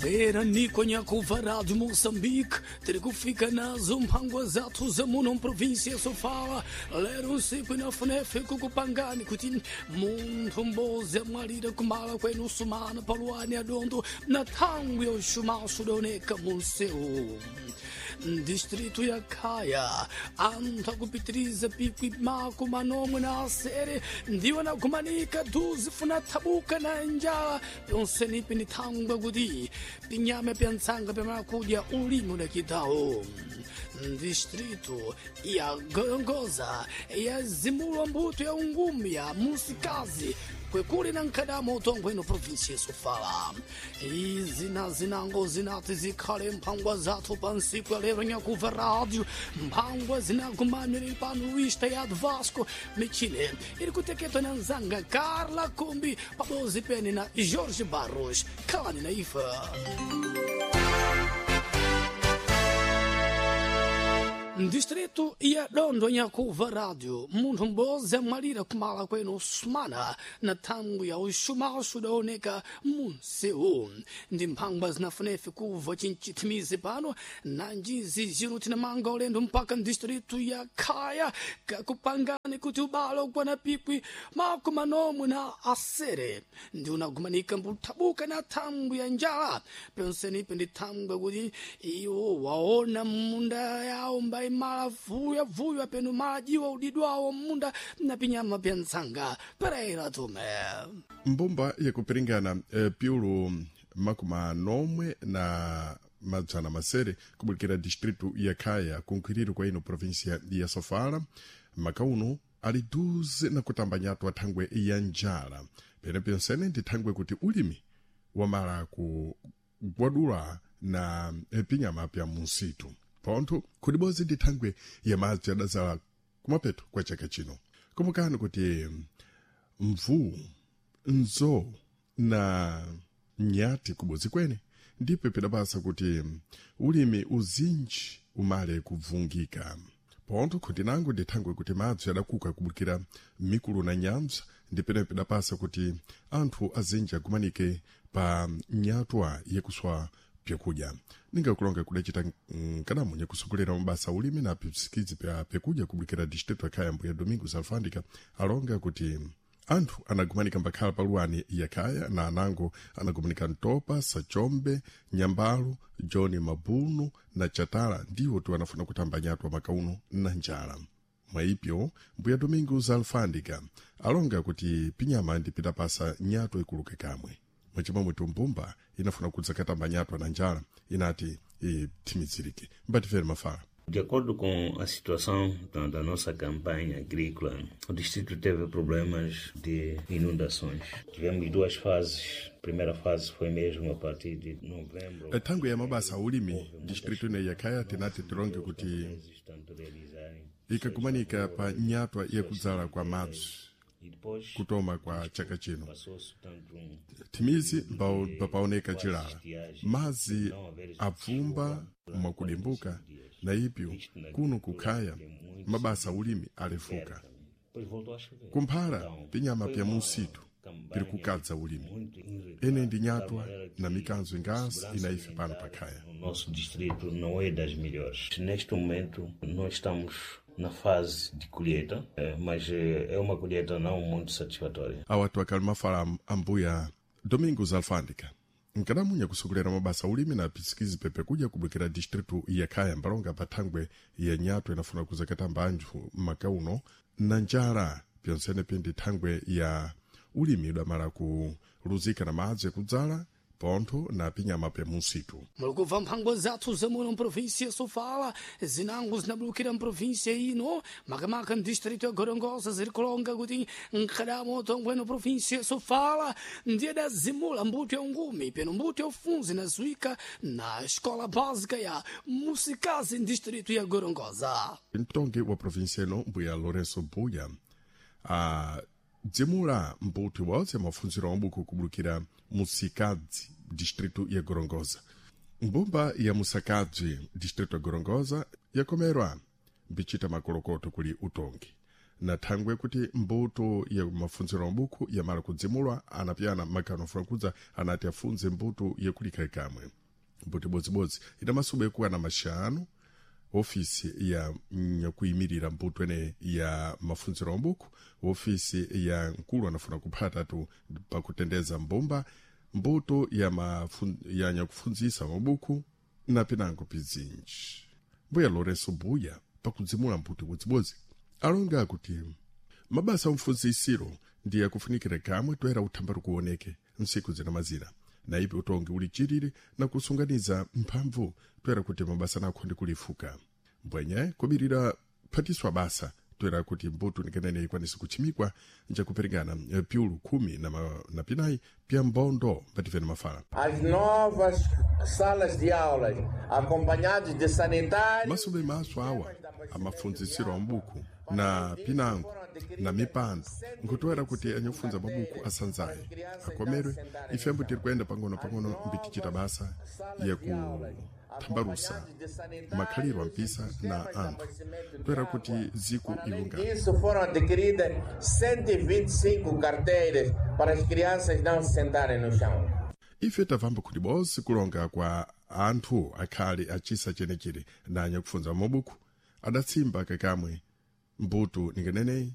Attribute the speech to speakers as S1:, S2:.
S1: Era Niconha Rádio Moçambique, terikufika nazo mphangwa zathu za muno mprovinsia Sofala, lero nsiku inafunefe kukupangani kuti munthu mbozi amwalira kumala kwenu sumana paluani adondo na thangwi ya uxumaxo udaoneka munsewu. Distrito ya Khaya, anthu akupitiriza pikwi mako manomwe na asere ndiwo nagumanika duzi funa thabuka na njala pyonsenipi ni thangwi kuti pinyama pya ntsanga pya makudya ulimi udakitawo. Distrito ya Gorongosa yazimulwa mbuto ya ungumi ya musikazi kwekuli na nkhadamo utongweno provinsia Sofala. Izi na zinango zinati zikhale mphangwa zathu pa nsiku ya lero nyakuva rádio mphangwa zinagumanire pano Luís Tayado Vasco Michine iri kuteketwa na nzanga Carla Kumbi pabozi pene na Jorge Barros khalani na ifa. Distrito ya Dondo nyakuva rádio munthu m'bodzi amwalira kumala kwenu sumana na thangwi ya uxumaxo udaoneka munsewu. Ndi mphangwa zinafunefe kuva cinchithimizi pano nanjizi zino tinamanga ulendo mpaka mdistrito ya Khaya kakupangani kuti ubalo ukwana pikwi makumi manomwe na asere ndi unagumanika mbuthabuka na thangwi ya njala. Pyonsenipi ndi thangwi kuti iwo waona munda yawo mbayi mala vuya vuya penu mala jiwa udidwawo munda na pinyama pya ntsanga Pereira Tume.
S2: Mbumba yakupiringana piulu makumi anomwe na madzana masere kubulikira distrito ya Khaya kunkhwiriro kwa ino província ya Sofala makauno ali duze na kutamba nyatwa thangwe ya njala pene pyonsene ndi thangwe kuti ulimi wamala kugwadula na pinyama pya munsitu pontho khudibozi ndi thangwe ya madzi adazala kumapeto kwa chaka chino. Kumbukani kuti mvuu nzo na nyati kubodzi kwene ndipo pidapasa kuti ulimi uzinji umale kubvungika. Pontho khutinango ndi thangwe kuti madzi adakuka kubukira mikulu na nyambza ndi pene pidapasa kuti anthu azinji agumanike pa nyatwa yakuswa pyakudya. Ningakulonga kudacita nkadamu nyakusogolera mabasa ulimi na pisikizi pya pyakudya kubukira distrito ya Khaya mbuya Domingos Alfandika alonga kuti anthu anagumanika mbakhala paluwani ya Khaya na anango anagumanika Ntopa, Sachombe, Nyambalu, John Mabunu na Chatala ndiwo tu anafuna kutamba nyatwa makauno na njala. Mwaipyo mbuya Domingos Alfandika alonga kuti pinyama ndipitapasa nyatwa ikuluke kamwe. Mwachimwemwe tumbumba inafuna kudzakatamba nyatwa na njala inati ithimizirike. Mbatifere mafala.
S3: De acordo com a situação da nossa campanha agrícola, o distrito teve problemas de inundações. Tivemos duas fases. A primeira fase foi mesmo a partir de novembro.
S2: Thangwi ya mabasa ulimi distrito ine ya Khaya tinati tilonge kuti ikakumanika pa nyatwa yakudzala kwa madzi kutoma kwa chaka chino. Thimizi mbapaoneka chilala madzi abvumba mwakudimbuka na ipyo kuno kukhaya mabasa ulimi alefuka. Kumphala pinyama pya munsitu piri kukadza ulimi. Ene ndi nyatwa na mikanzo ingasi inaife pano pakhaya.
S3: O nosso distrito não é das melhores. Neste momento nós estamos na fase de colheita, mas é uma colheita não muito satisfatória.
S2: Awatu akali mafala ambuya Domingos Alfandika nkadamunya kusogolera mabasa ulimi na pisikizi pepe kudya kubwekera distrito ya Khaya mbalonga pa thangwe ya nyatwa inafuna kuzakatamba anthu makauno na njala pyonsene pindi thangwe ya ulimi udamala kuluzika na madzi yakudzala pontho na pinyama pya munsitu.
S1: Mulikubva mphangwa zathu zamuno mprovinsia Sofala zinango zinabulukira mprovinsia ino makamaka mdistrito ya Gorongosa ziri kulonga kuti nkhadamo utongweno provinsia Sofala ndiye dazimula mbuto ya ungumi peno mbuto ya ufunzi inazuika na escola básica ya Musikazi distrito ya Gorongosa.
S2: Mtongi wa provinsia ino mbuya Lourenço Buya dzimula mbuto ibodzi mafunziro ambuku kubulukira Musikadzi distrito ya Gorongosa. Mbumba ya Musakadzi distrito ya Gorongosa yakomerwa mbichita makolokoto kuli utongi. Na thangwe kuti mbuto ya mafunziro mabuku yamala kudzimulwa, anapyana makano afuna anati afunze mbuto yakulika kamwe. Mbuto ibodzibodzi ina masuba ekuwana maxanu. Ofisi ya nyakuyimirira mbuto ene ya mafunziro mabuku, ofisi ya mkulu anafuna kuphatatu pakutendeza mbumba mbuto ya, ya nyakufunzisa mabuku na pinango pizinji. Mbuya Lourenço Buya pakudzimula mbuto ibodzibodzi alonga kuti mabasa omfunzisiro ndiye akufunikira kamwe toera uthambari kuoneke nsiku zina mazina na ipi utongi uli chiriri na kusunganiza mphamvu toera kuti mabasa nakho ndi kulifuka mbwenye kubirira phatiswa basa toera kuti mbuto nikenene ikwanise kuchimikwa njakuperekana piulu 10 na pinayi pya mbondo mbativene mafala.
S4: As novas salas de aulas, acompanhados de sanitários.
S2: Masube maso awa amafunzisiro ambuku na pinango na mipando nkutoera kuti anyakufunza mabuku asanzaye akomerwe. Ifembo tiri kuyenda pang'ono-pang'ono mbitichita basa yakuthambalusa makhaliro ampisa na anthu toera kuti ziku ilungana.
S4: Disso, foram adquiridas 125 carteiras para as crianças não se sentarem no chão.
S2: Ife tabvamba kuti bonse kulonga kwa anthu akhale achisa chenechere na anyakufunza mabuku adatsimba kakamwe mbuto ningeneneyi.